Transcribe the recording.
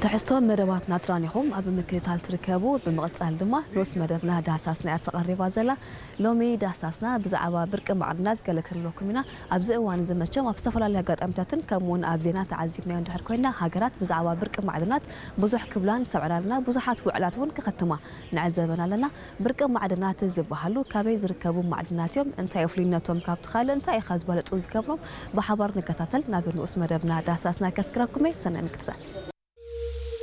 ትሕዝቶ መደባትና ጥራን ኢኹም ኣብ ምክትታል ትርከቡ። ብምቕጻል ድማ ንኡስ መደብና ዳህሳስና እያ ተቐሪባ ዘላ። ሎሚ ዳህሳስና ብዛዕባ ብርቂ ማዕድናት ገለ ክንብለኩም ኢና። ኣብዚ እዋን እዚ መቸም ኣብ ዝተፈላለዩ ኣጋጣሚታትን ከምኡ እውን ኣብ ዜና ተዓዚብናዮ እንድሕር ኮይና፣ ሃገራት ብዛዕባ ብርቂ ማዕድናት ብዙሕ ክብላን ሰምዕናልና፣ ብዙሓት ውዕላት እውን ክኸትማ ንዕዘበን ኣለና። ብርቂ ማዕድናት ዝበሃሉ ካበይ ዝርከቡ ማዕድናት እዮም? እንታይ ፍሉይነቶም ካብቲ ካልእ እንታይ ኢኻ ዝበለጹ ዝገብሮም? ብሓባር ንከታተል። ናብ ንኡስ መደብና ዳህሳስና ከስክረኩም እየ። ሰናይ ምክትታል።